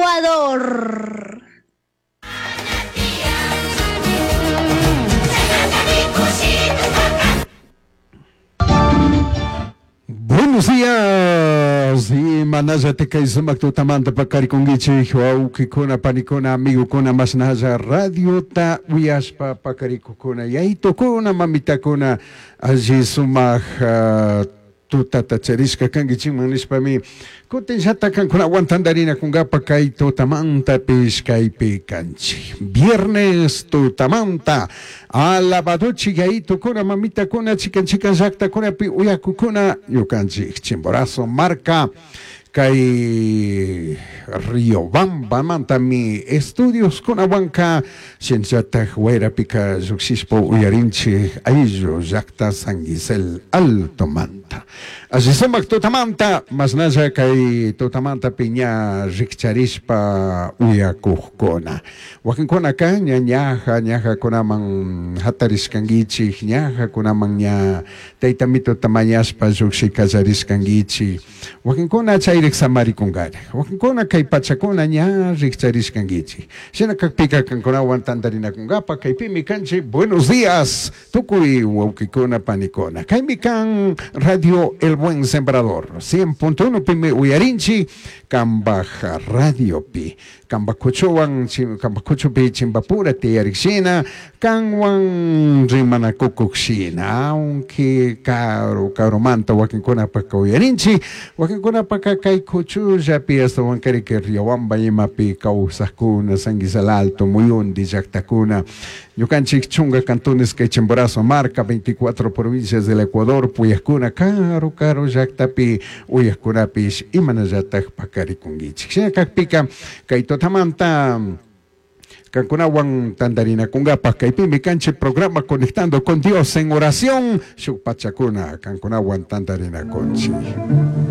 Ecuador. Buenos días, imanallata kay sumak tutamanta pakarikunkichik wawkikuna, panikuna, amigokuna, mashnalla radiota uyashpa pakarikukuna, yaytukuna, mamitakuna, alli sumak tutata charishka kankichikman nishpami kutinllata kankunawan tantarinakunkapa kay tutamantapish kaypi kanchik. Viernes tutamanta alabadochik yayitukuna, mamitakuna, chikan chikan llaktakunapi uyakukuna ñukanchik Chimborazo marka kay Riobambamantami estudioskunawanka shinallatak wayrapika llukshishpa uyarinchik ayllu llakta San Gisel Altomanta. Alli sumak tutamanta mashnalla kay tutamantapi ña rikcharishpa uyakukkuna. Wakinkunaka ña ñaja ñajakunaman hatarishkankichik, ñajakunaman ña tayta mituta mañashpa llukshi kallarishkankichik. Wakinkuna chayrik samarikunkari. Wakinkuna kay pachakuna ña rikcharishkankichik. Shina kakpika kankunawan tantarinakunkapa kaypimi kanchik. Buenos días tukuy wawkikuna panikuna. Kaymi kan Radio El Buen Sembrador 100.1 pimi uyarinchik kambaj radiopi. Kambakuchuwan kambakuchupi chimbapura tiyarikshina kanwan rimanakukushina, aunque karu karumanta wakinkunapaka uyarinchik, wakinkunapaka kay kuchullapi astawankariki Riobamba imapi kawsakuna, San Gisel Alto, muyundi llaktakuna, ñukanchik chunga cantones kay Chimborazo marca, 24 provincias del Ecuador, puyakuna karu karu llaktapi uyakkunapish imanallatak pakarikunkichik. Shina kakpika kay tutamanta kankunawan tantarinakunkapaj kaypimi kanchik programa Conectando con Dios en oración, shuk pachakuna kankunawan tantarinakunchik.